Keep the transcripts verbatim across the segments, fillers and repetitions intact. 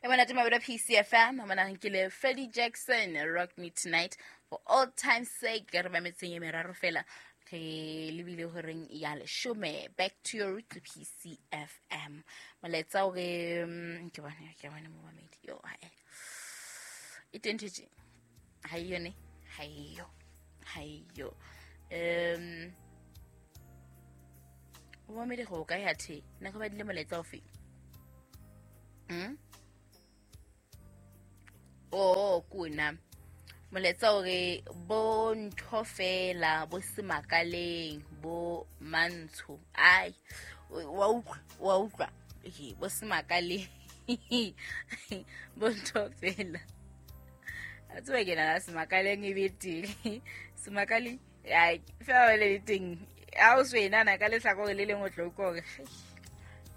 E monate mabelo P C F M, mona ke le Freddie Jackson, Rock Me Tonight for all time's sake. Re ba metseng e meraro fela re lebile horeng ya leshome. Back to your root P C F M. Molaetsa o re ke bone ke bone mo mamedi yo hae. E tentetse. Ha iyo ne? Ha iyo. Ha iyo. Um o mamedi go ka ya the. Nna go ba dile molaetsa o fe? Mm? Oh, kuna molaetsa o re bo ntho fela bo semakaleng bo mantsho ai wa utlwa wa utlwa e bo semakaleng bo ntho fela a tswe ke na semakaleng e bete semakaleng ai fela le teng a o swena na ka lehlakore le lengwe tlo ko re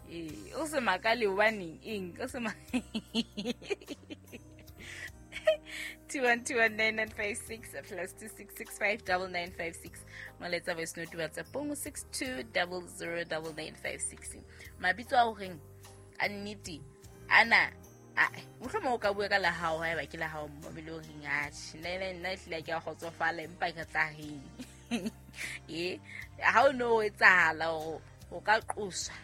e o semakale hobane eng o sema two one two one nine nine five six plus two six six five double nine five six. Molaetsa voice note WhatsApp six two double zero double nine five six. Mabitso a horeng a nnete ana a mohlomong o ka bua ka la hao haeba ke la hao mobile o reng atjhe nna nna ehlile ke a kgotsofala empa ke tla reng e ha o no etsahala hore o ka qosa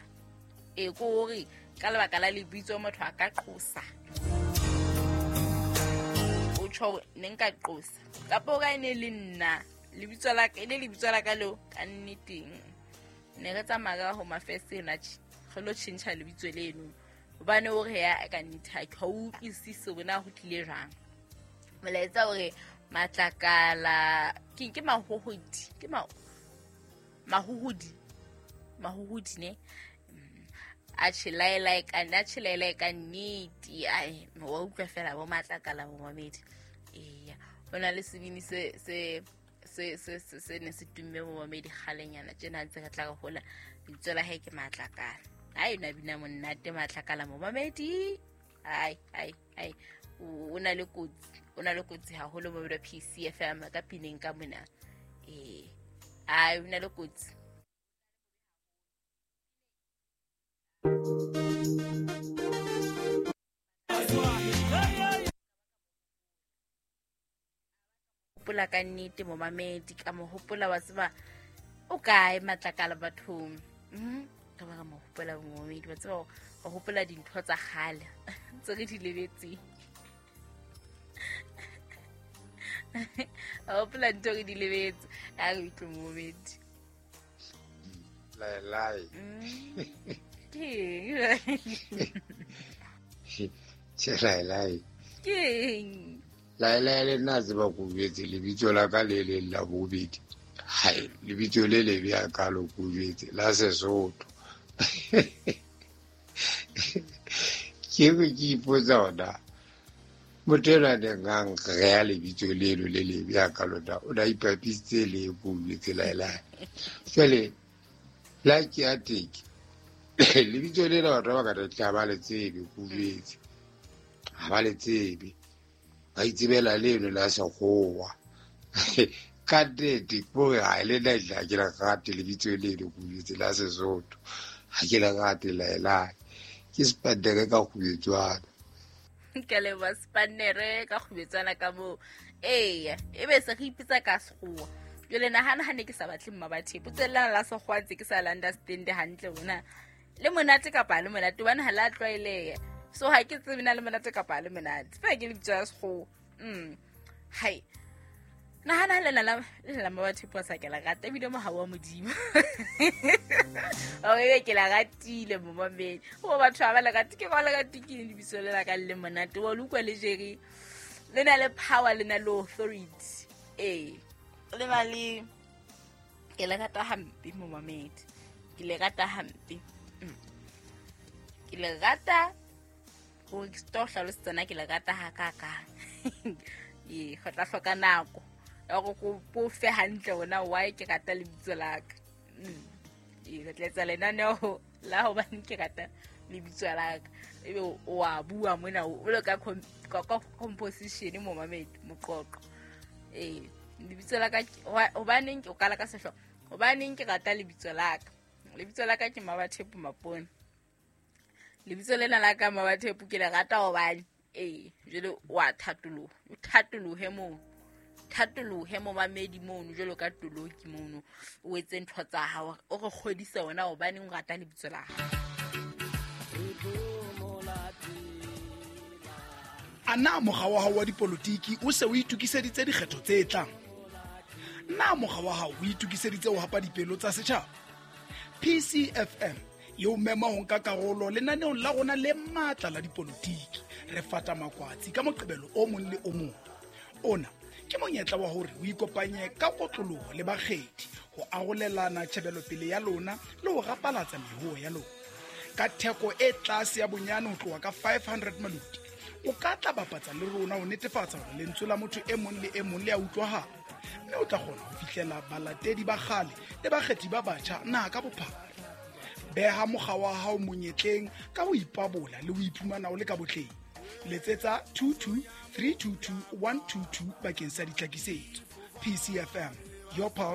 e ko hore ka lebaka la lebitso motho a ka qosa tjho ne nka qosa kapa o ka ene le nna lebitso la ka ene lebitso la ka leo ka nneteng ne re tsamaya ka home affairs ena re lo tjhentjha lebitso leno hobane o re ya ka nnete ha ke utlwisise bona ho tlile jwang. Molaetsa o re matlakala ke ke mahohodi ke ma mahohodi mahohodi ne a tjhelaela ka nna tjhelaela ka nnete ai wa utlwa fela bo matlakala bo mamedi. Eya ona le sebini se se se se se ne se tumme bo mamedi kgalenyana tjena ntse re tla re hola lebitso la hae ke matlakala. Ai na bina monate matlakala mo mamedi ai ai ai o na le kotsi o na le kotsi haholo mo P C F M ka pineng ka mona eh ai o na le kotsi. Hopola ka nnete mo mamedi ka mo hopola wa tseba o kae matlakala bathong mm ka ba mo hopola mo mamedi wa tseba o hopola dintho tsa kgale tse re di lebetseng o hopola dintho re di lebetse a re utlwe mo mamedi lai lai ke che lai lai ke lai lai le nna tseba go jwetse lebitso la ka le le la bobedi hai lebitso le le bya ka lo go jwetse la Sesotho ke be ke ipotsa ona motho enwa ne ngang re lebitso leno le le bya ka lona o na ipapisitse le go jwetse lai lai jwale la ke a teke lebitso lena batho ba ka re tla ba le tsebe go jwetse ha ba le tsebe ba itsebela leno la sekgowa ka nnete ko ha le nna ha ke la rate lebitso leno go jwetse la Sesotho ha ke la rate laelane ke sepandere ka kgubetswana ke leboha sepandere ka kgubetswana ka moo eya ebe se re ipitsa ka sekgowa jwale nahana ha ne ke sa batle mmabathe potselana la sekgowa ntse ke sa la understand hantle bona le monate kapa le monate hobane ha la tlwaeleha so ha ke tsebe na le monate kapa le monate fa ke lebitso la sekgowa mm hai nahana le la le la mmabathe posa ke la rata ebile mohau wa Modimo o e ke la ratile momamedi o batho ba le rate ke ba le rate ke lebitso le la ka le monate wa utlwa le jere le na le power le na le authority eh le na le ke le rata hampe momamedi ke le rata hampe ke le rata go ke hlalosetsa na ke le rata ha ka ka e go tla hloka nako ya go go fe hantle ona why ke rata lebitso la ka e re tletsa lenaneo la hobane ke rata lebitso la ka ebe o a bua mona o le ka composition momamedi moqoqo eh lebitso la ka hobaneng ke o kala ka sehlooho hobaneng ke rata lebitso la ka lebitso la ka ke Mmabathepo Mapone Lebitso lena la ka Mmabathepo ke le rata hobane ee jwale wa thatoloha, o thatolohe mono, thatolohe momamedi mono jwalo ka toloki mono, o etse ntho tsa hao, o re kgodise wena hobaneng o rata lebitso la hao. A na mokga wa hao wa dipolotiki o se o itokiseditse dikgetho tse tlang? Na mokga wa hao o itokiseditse ho hapa dipelo tsa setjhaba? P C F M e o mema ho nka karolo lenaneong la rona le matla la dipolotiki. Re fata makwatsi ka Moqebelo o mong le o mong. Ona ke monyetla wa hore o ikopanye ka kotloloho le bakgethi ho arolelana tjhebelopele ya lona le ho rapalatsa mehoo ya lona. Ka theko e tlase ya bonyane ho tloha ka five hundred maloti, o ka tla bapatsa le rona ho netefatsa hore lentswe la motho e mong le e mong le a utlwahala, mme o tla kgona ho fihlela balatedi ba kgale le bakgethi ba batjha naha ka bophara. Beha mokga wa hao monyetleng ka ho ipabola le ho iphumana o le ka botleng. Letsetsa two two three two two one two two bakeng sa ditlhakisetso. P C F M, your pulse.